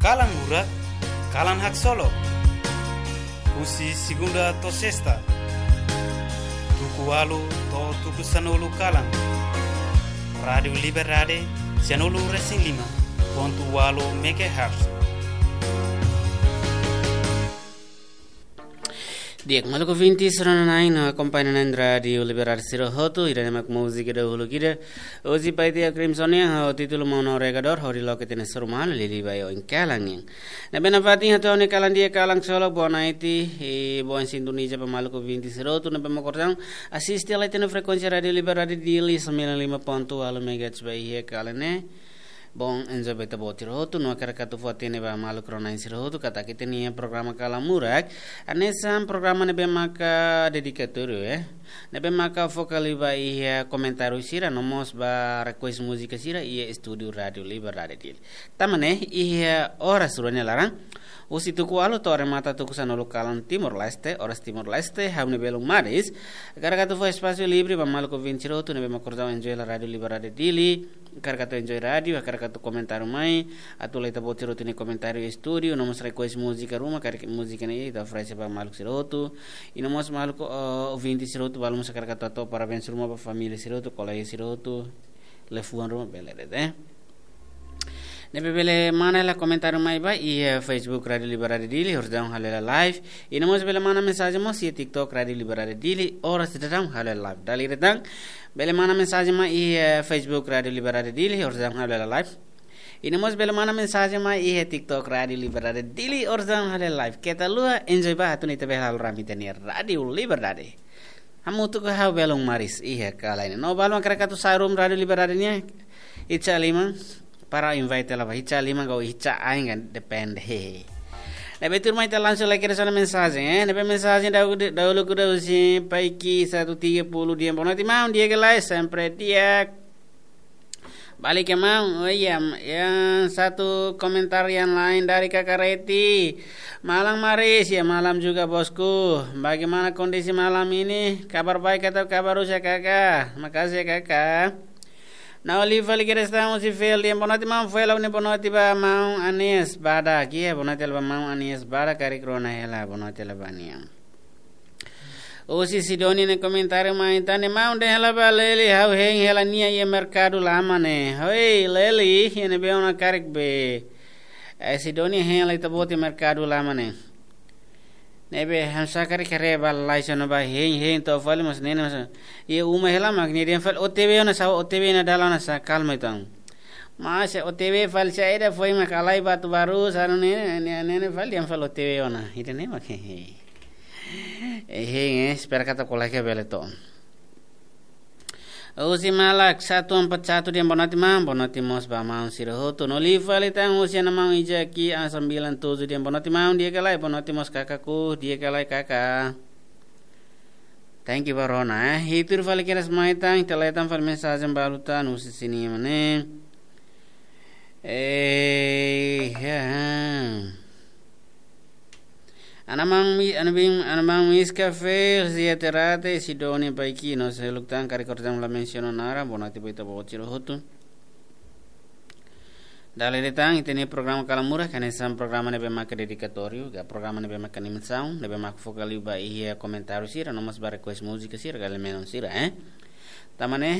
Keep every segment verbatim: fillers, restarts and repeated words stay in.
Kalan Murak, kalan haksolok. Husi segunda to'o sesta, tuku ualu to'o tuku sanulu kalan. Rádiu Liberdade, sanulu resin lima pontu ualu megahertz. Di'ak, maluk ouvinte sira-na'in no akompaña na'in Rádiu Liberdade sira hotu, ida-ne'e mak múzika dahuluk ida. Oji pai tiha Crimson nian, ho títulu Maun Navegadór, hodi loke tiha ona suru malu lili bai oin kalan nian. Ne'ebé nafatin hato'o ha'u-nia kalan di'ak, kalan haksolok, boa noite, i boa sintoniza ba maluk ouvinte sira hotu ne'ebé mak orsida asiste lai tiha ona frekuénsia Rádiu Liberdade Dili sembilan lima pontu ualu megahertz ba iha kalan ne'e. Bom, enjoy ba ita-boot sira hotu, no hakarak atu fó-hatene ba maluk rona-na'in sira hotu katak ita-nia programa Kalan Murak hanesan programa ne'ebé maka dedikatóriu, eh. Ne'ebé maka foka liu ba iha komentáriu sira, no mós ba request múzika sira iha estúdiu Rádiu Liberdade Dili. Tanba ne'e, iha oras rua nia laran, husi tuku ualu to'o remata tuku sanulu kalan Timor-Leste, oras Timor-Leste, ha'u-nia belun maris, hakarak atu fó espasu livre ba maluk ouvinte sira hotu ne'ebé mak orsida enjoy hela Rádiu Liberdade Dili, hakarak atu enjoy rádiu, hakarak atu komentáriu mai, atu la ita-boot sira hotu nia komentáriu estúdiu, no mós request múzika ruma, karik múzika ne'e ita oferese ba maluk sira hotu. I no mós maluk, eh, ouvinte sira hotu balu mós hakarak atu hato'o parabéns ruma ba família sira hotu, kolega sira hotu, liafuan ruma bele de'it, eh. Ne'ebé bele mana hela komentáriu mai ba iha Facebook Rádiu Liberdade Dili, oras daudaun halo hela live. I no mós bele mana mensajen mós iha TikTok Rádiu Liberdade Dili, oras daudaun halo hela live. Dala ida tan, bele mana mensajen mai iha Facebook Rádiu Liberdade Dili, oras daudaun halo hela live. I no mós bele mana mensajen mai iha TikTok Rádiu Liberdade Dili, oras daudaun halo hela live. Keta haluha, enjoy ba, atu nune'e ita bele halo rame ita-nia Rádiu Liberdade. Hamutuk ho ha'u belun maris iha kalan ne'e. No balu mak hakarak atu sa'e ruma Rádiu Liberdade nian, iha liman, para invite hela ba, iha liman ka iha ain kan, depende. Hehe. Ne'ebé tuirmai ita langsung lai kedas ona mensajen, eh. Ne'ebé mensajen dahuluk, dahuluk husi Paiki satu tiga puluh, dehan boa noite maun, di'ak ka lae, sempre di'ak. Balik ya maun, oh iya, yang satu komentar yang lain dari Kakak Reti. Malam maris, ya malam juga bosku. Bagaimana kondisi malam ini? Kabar baik atau kabar rusak, Kakak? Makasih ya, Kakak. No liu fali kedas tan husi Fel, dehan boa noite maun Fel, ha'u-nia boa noite ba maun Anies Badak. Iya, boa noite hela ba maun Anies Badak, karik rona hela, boa noite hela ba nia. Husi Sidoni nia komentáriu mai tan, maun dehan hela ba Leli, ha'u hein hela nia iha merkadu lama ne'e. Hoi, Leli, iha ne'ebé ona karik be? Eh, Sidoni hein hela ita-boot iha merkadu lama ne'e. Ne'ebé, hanesan karik haree ba lalais ona ba hein, hein to'o fali mós ne'e ne'e mós. Iha uma hela mak nia dehan fali O T W ona sá, O T W ona dalan ona sá, kalma entaun. Mas O T W fali saida, foin mak halai Batubaru, sá no ne'e, ne'e, ne'e, ne'e fali dehan fali O T W ona. Ida-ne'e mak, hehe. Eh, hein, eh, espera katak kolega bele to'o. Husi Malak satu empat satu dehan boa noite maun, boa noite mós ba maun sira hotu. No liu fali tan husi Ana Maun Ijaki A sembilan tujuh dehan boa noite maun, di'ak ka lae, boa noite mós kakakku, di'ak ka lae kaka. Thank you ba rona, eh. I tuir fali kedas mai tan, ita leten fali mensajen balu tan, husi sini mane. Eh, ya. Ana maun mi, ana bin, ana maun Miska Fel, Zia Terate, Sidoni Paiki, no seluk tan karik orsida la mensiona naran, boa noite ba ita-boot sira hotu. Dala ida tan, ita-nia programa Kalan Murak, hanesan programa ne'ebé maka dedikatóriu, ka programa ne'ebé maka animasaun, ne'ebé maka foka liu ba iha komentáriu sira, no mós ba request múzika sira, ka elementu sira, eh. Tanba ne'e,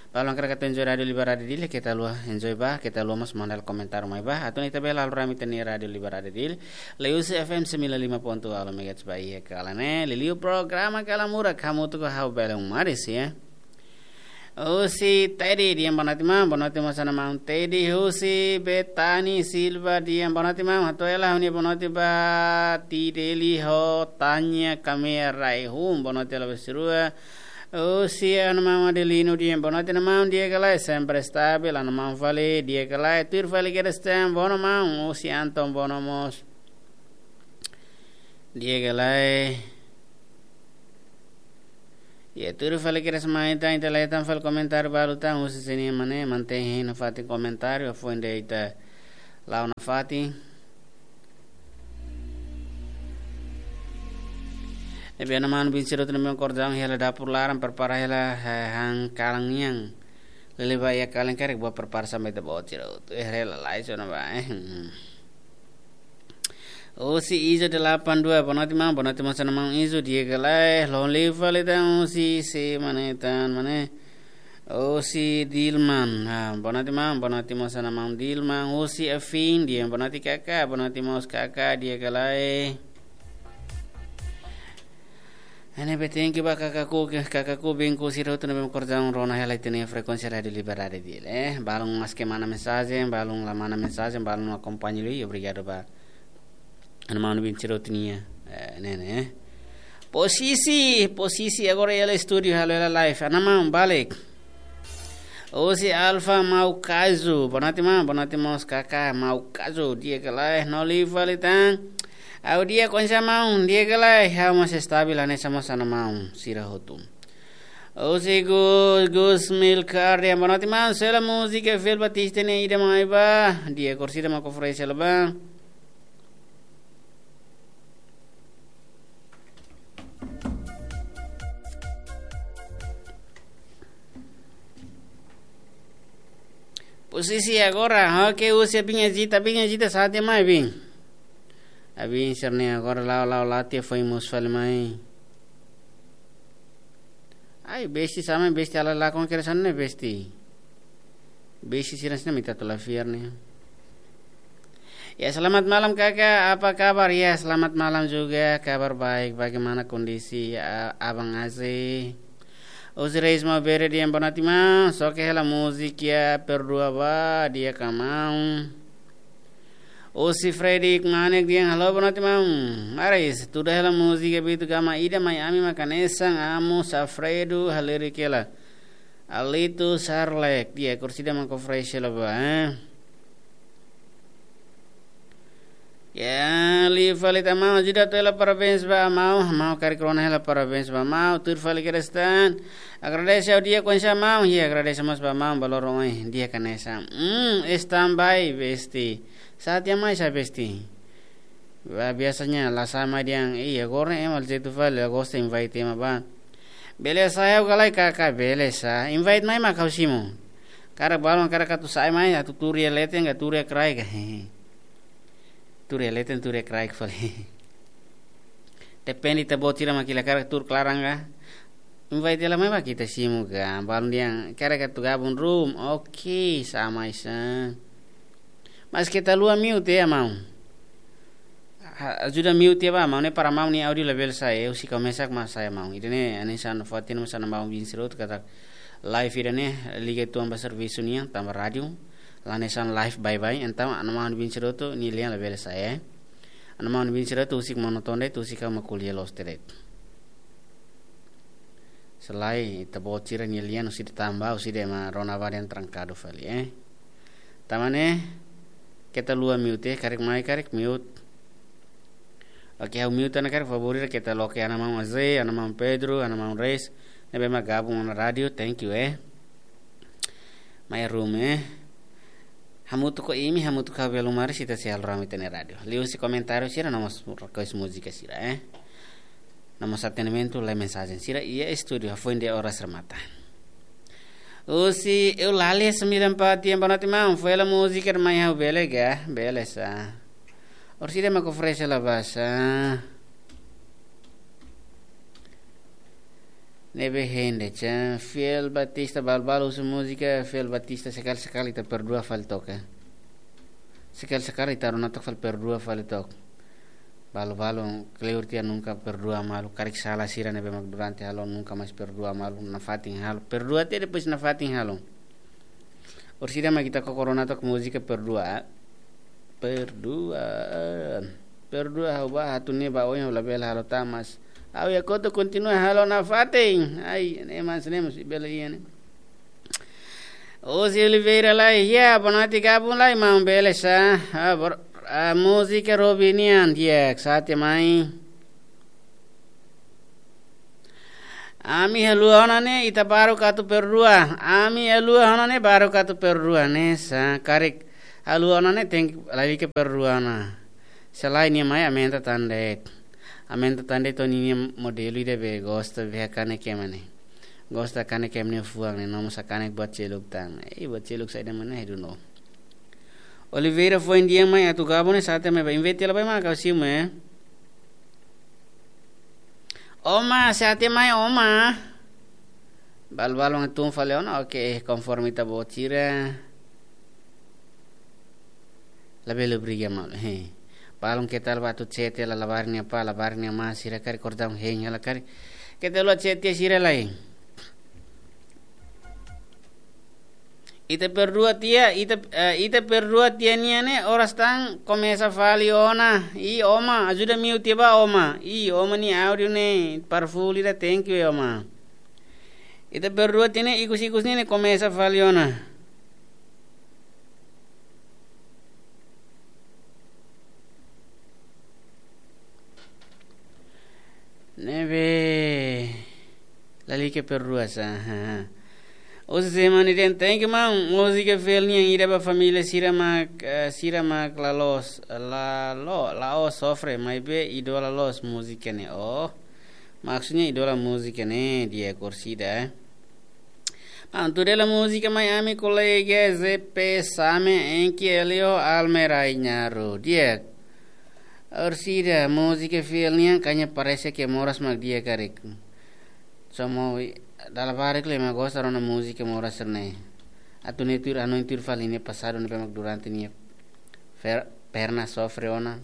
balu mak hakarak atu enjoy Rádiu Liberdade Dili, keta haluha enjoy ba, keta haluha mós manda komentáriu mai ba. Atu nune'e ita bele halo rame ita-nia Rádiu Liberdade Dili. Liuhusi F M sembilan lima ponto nol megahertz ba iha kalan ne'e. Liuliu programa Kalan Murak, hamutuk ho ha'u belun maris, ya. Husi Teddy dehan boa noite maun, boa noite mós Ana Maun Teddy. Husi Betani Silva dehan boa noite maun, hato'o hela ha'u-nia boa noite ba Tideli ho Tanya Kamea Raihun, boa noite hela ba sira rua. Husi Ana Maun Adelino dehan boa noite Ana Maun, di'ak ka lae, sempre stabil, Ana Maun fali, di'ak ka lae, tuir fali kedas tan, boa noite maun, husi Anton boa noite mós, di'ak ka lae. Ya, tuir fali kedas mai tan, ita leten fali komentáriu balu tan, husi sini mane, mantein hein nafatin komentáriu, foin de'it ita la'o nafatin. Ne'ebé Ana Maun bin sira hotu ne'ebé mak orsida hela dapur laran, prepara hela, eh, han kalan nian. Lele ba iha kalan karik ba prepara sá mai ita-boot sira hotu. Eh, hela lalais ona ba, eh. Hmm. Husi Izo delapan dua, boa noite maun, boa noite mós ona maun Izo, di'ak ka lae, loron liu fali tan husi sé mane tan, mane. Husi Dilman, ah, boa noite maun, boa noite mós ona maun Dilman, husi Afin, di'ak, boa noite kaka, boa noite mós kaka, di'ak ka lae. Ne'ebé thank you ba kakaku, kakaku binku sira hotu ne'ebé mak kordang rona hela ita-nia frekuénsia Rádiu Liberdade di'ak, eh. Balun maske mana mensajen, balun la mana mensajen, balun akompaña liu, obrigadu ba ana maun binku sira hotu nian, eh, ne'e, ne'e. Posisi, posisi agora iha estúdiu, halo hela live, ana maun balik. Husi Alfa Mau Kazu, boa noite maun, boa noite mós kaka Mau Kazu, di'ak ka lae, loron liu fali tan. Ha'u di'ak, oinsá maun, di'ak ka lae, ha'u mós estabil, hanesan mós ana maun sira hotu. Husi Gus, Gus Milcar, di'ak, boa noite maun, sela múzika Fiel Batista ne'e ida mai ba, di'ak, orsida mak oferese hela ba. Posisi agora, oke, husi Abin Ajita, Abin Ajita, sá tiha mai, Abin. Abin sira-ne'e agora la'o, la'o, la'o tiha foin mosu fali mai. Ai, besti sá mai, besti ala lakon kere sana ne'e besti. Besti sira sini mita tula fiar ne'e. Ya, selamat malam kakak, apa kabar? Ya, selamat malam juga, kabar baik. Bagaimana kondisi, a-, Abang Aze? Husi Reis Maubere, di'ak, boa noite maun, soke hela múzika Perdua ba, di'ak ka maun. Husi Freddy Manek, di'ak, halo, boa noite maun. Maris, tuda hela múzika Bitu Gama Ida mai, ami mak hanesan Amo Safredu halerik hela. Alito Sarlek, di'ak, orsida mak oferese hela ba, eh. Ya, liu fali tan maun, ajuda atu hela parabéns ba maun, maun karik rona hela parabéns ba maun, tuir fali kedas tan. Agradese ha'u di'ak, oinsá maun, ya, agradese mós ba maun, ba loron ohin, di'ak hanesan. Hmm, standby, besti. Sá tiha mai sá, besti? Ba, biasanya la sá mai dehan, iya, agora ema jeitu fali, la gosta invite ema ba. Bele sá, ha'u ka lae kaka, bele sá. Invite mai mak ha'u simu. Karik balun, karik atu sa'e mai, atu tuur iha leten ka tuur iha kraik ka. Tuur iha leten, tuur iha kraik fali. Depende ita-boot sira mak hili karik tuur klaran ka. Invite hela mai mak ita simu ka. Balun dehan, karik atu gabung room. Oke, sá mai sá. Mas keta haluha mute ya, maun. Ha, ajuda mute ba, maun, ne'e para maun nia áudio labele sa'e, husik ha'u mesak mak sa'e, maun. Ida-ne'e, hanesan fó hatene mós ana maun binku sira hotu katak live ida-ne'e, liga uitoan ba servisu nian, tanba rádiu, la hanesan live baibain, entaun, ana maun binku sira hotu, nia lian labele sa'e. Ana maun binku sira hotu, husik mak nonton de'it, husik ha'u mak ko'alia loos de'it. Selae ita-boot sira-nia lian husi de'it tanba, husi de'it ema rona ba dehan trankadu fali, eh. Tanba ne'e, keta haluha mute, karik mai, karik mute. Oke, ha'u mute ona karik, favór ida keta loke ana maun Aze, ana maun Pedro, ana maun Reis. Ne'ebé mak gabung ona rádiu, thank you, eh. Mai room, eh. Hamutuk ho imi, hamutuk ho Belu Maris, ita sei halo rame ita-nia rádiu. Liuhusi komentáriu sira, no mós request múzika sira, eh. No mós atendimentu, lori mensajen sira iha estúdiu, hafoin dez horas remata. Husi Eulalia sembilan empat, yang boa noite maun, foin hela múzika ida mai ha'u bele ka, bele sá. Orsida mak oferese hela ba sá. Ne'ebé hein de'it, Fiel Batista, balu-balu husu múzika Fiel Batista, sekali-sekali ita perdua fali took. Sekali-sekali ita rona took fali, perdua fali took. Balu-balu kleur tiha, nunka perdua malu, karik sala sira ne'ebé mak durante halo, nunka mais perdua malu, nafatin halo. Perdua tiha, depois nafatin halo. Orsida mak ita koko rona took múzika perdua. Perdua. Perdua ha'u ba, atu ne'e ba oin ha'u labele halo tan, mas ha'u iha kotuk kontinua halo nafatin. Ai, ne'e mas, ne'e mas bele iha ne'e. Husi Oliveira lai, ya, boa noite gabung lai, maun, bele sá. Ah, bor-, ah, múzika Robi nian, di'ak, sá tiha mai. Ami haluha ona ne'e, ita baruk atu perdua. Ami haluha ona ne'e, baruk atu perdua ne'e, sá karik haluha ona ne'e, tenke lalika perdua ona. Selae nia mai aumenta tan de'it. Aumenta tan de'it, to'o ninia modelu ida be gosta be hakanek ema ne'e. Gosta hakanek ema nia fuan ne'e, no mós hakanek buat seluk tan. Eh, buat seluk saida mak ne'e, I don't know. Oliveira foin di'ak mai atu gabon ne'e sate mai ba invite la bai ma kau simu, eh. Oma, sate mai, Oma. Balu-balu ngatun fali ona, oke, konforme ita-boot sira. Labele obriga maun, he. Balun keta la ba atu chat hela labarik nia apá, labarik nia amá, sira karik kordang hein hela karik. Keta la chat tiha sira lai. Ita perdua tiha, ita, eh, ita perdua tiha nian ne'e, oras tan komesa fali ona. I, Oma, ajuda mute tiha ba, Oma. I, Oma nia áudio ne'e, para fuli da, thank you, Oma. Ita perdua tiha ne'e, ikus-ikus ne'e, ne'e komesa fali ona. Ne'ebé lalika perdua sa. Husi semana ida, thank you, maun. Múzika fiel nian ida ba família sira mak, eh, sira mak la loos, la lo, la'ós sofre, maibé idola loos múzika ne'e. Oh, maksudnya idola múzika ne'e, di'ak orsida, eh. Maun, tuir hela múzika mai ami kolega Z P Same, Enki, Elio, Almerai Nyaru. Di'ak orsida, múzika fiel nian, kanya parese ke moras mak di'ak karik. Somo dala barak le mak gosta rona múzika moras sira-ne'e. Atu ne'e tuir, anu tuir fali ne'e pasadu ne'ebé mak durante nia fer-, perna sofre ona.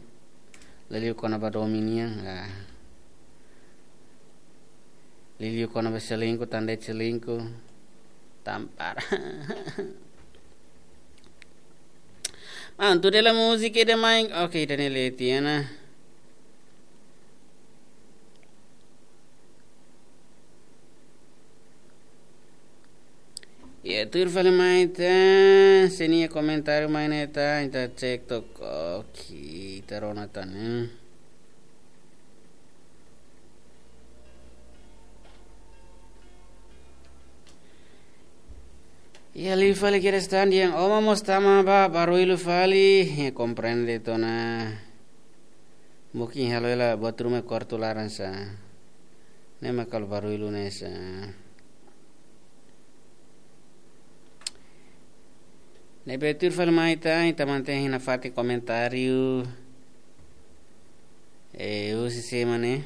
Liuliu kona-ba domin nian, ah. Liuliu kona-ba selingkuh, tanda selingkuh. Tampar. Maun, tuir hela múzika ida mai. Oke, ida-ne'e leti ona. Ya, tuir fali mai tan, se nia komentáriu mai ne'e tan, ita cek took. Oke, ita rona tan, eh. Ya, liu fali kedas tan dehan Oma mós tama ba barullu fali. Ya, komprende tiha ona. Mungkin halo hela buat ruma kuartu laran sa. Ne'e mak halo barullu ne'e sa. Ne'ebé tuir fali mai tan, ita mantein nafatin komentáriu. Eh, husi sé mak ne'e?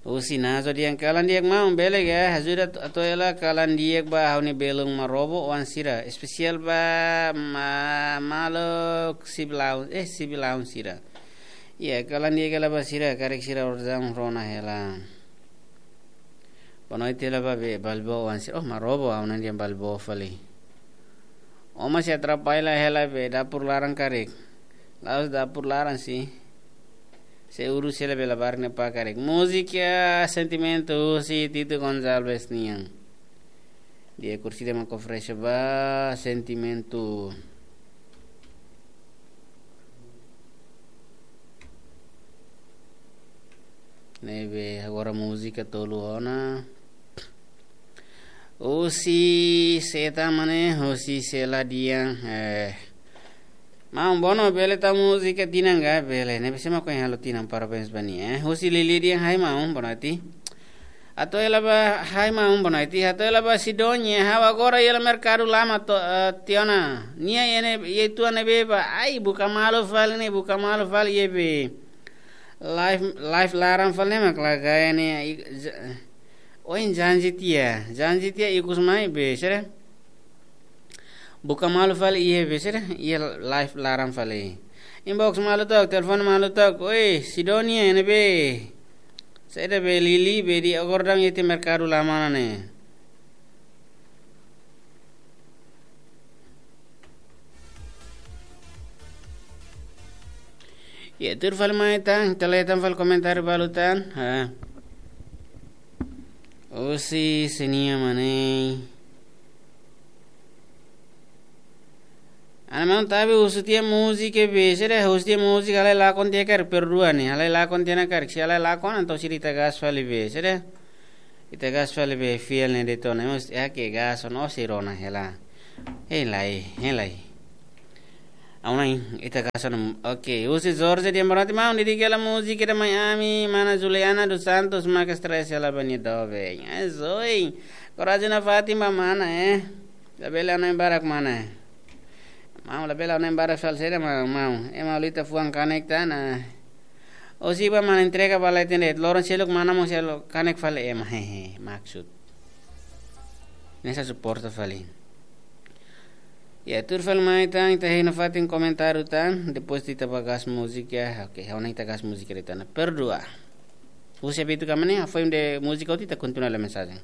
Husi Nazo dehan kalan di'ak maun, bele ka, ajuda atu, atu hela kalan di'ak ba ha'u-nia belun Marobo oan sira, espesiál ba ma-, maluk sibilaun, eh, sibilaun sira. Ya, kalan di'ak hela ba sira, karik sira orasaun rona hela. Boa noite hela ba be, Balbo oan sira. Oh, Marobo, ha'u hanoin dehan Balbo fali. Oma sei atrapalla hela be, dapur laran karik. La'ós dapur laran sih. Sei urus hela be labarik nia apá karik. Múzika Sentimentu husi Tito Gonçalves nian. Di'ak orsida mak oferese ba Sentimentu. Ne'ebé agora múzika tolu ona. Husi sé tan mak ne'e, husi Sela dehan, eh. Maun, bono bele tau múzika tinan ka, bele. Ne'ebé sé mak ohin halo tinan, parabéns ba nia, eh. Husi Lili dehan, hai maun, boa noite. Atu hela ba, hai maun, boa noite. Atu hela ba Sidonia, ha'u agora iha merkadu lama to, eh, tiha ona. Nia iha ne'e, iha tua ne'ebé ba, ai, buka malu fali ne'e, buka malu fali iha be. Live, live laran fali ne'e mak la gaya ne'e, i-, ja-, ohin janji tiha, janji tiha ikus mai be, sira. Buka malu fali iha be, sira, iha live laran fali. Inbox malu took, telefone malu took, oi, Sidonia ne'ebé. Saida be Lili be di agora daudaun iha tiha merkadu lama ona ne'e. Ya, tuir fali mai tan, ita lee tan fali komentáriu balu tan. Ha. Husi sé nian mak ne'e? Ana maun tabe husu tiha múzika be, sira husu tiha múzika, halai lakon tiha karik, perdua ne'e, halai lakon tiha ona karik, se halai lakon, entaun sira ita gas fali be, sira. Ita gas fali be fiel ne'e de'it ona, mós, ya ke gas ona, ó sei rona hela. Hein lai, hein lai. Auna ita gas ona, oke, husi Jorge dehan boa noite maun, dedika hela múzika ida mai ami, mana Juliana dos Santos, maka stress hela ba nia doben. Eh, Zoe, korajen nafatin ba mana, eh. Labele hanoin barak mana. Maun, labele ha'u-nia barak fali sira, maun, maun. Ema ulita fuan kanek tan, ah. Osi ba mana entrega ba la ita de'it. Loron seluk mana mós selu kanek fali ema, hehe, maksud. Hanesan suporta fali. Ya, tuir fali mai tan, ita hein nafatin komentáriu tan, depois ita ba gas múzika, oke, ha'u hanoin ita gas múzika de'it tan. Perdua. Husi abitu kamane, foin de múzika hotu ita kontinua hela mensajen.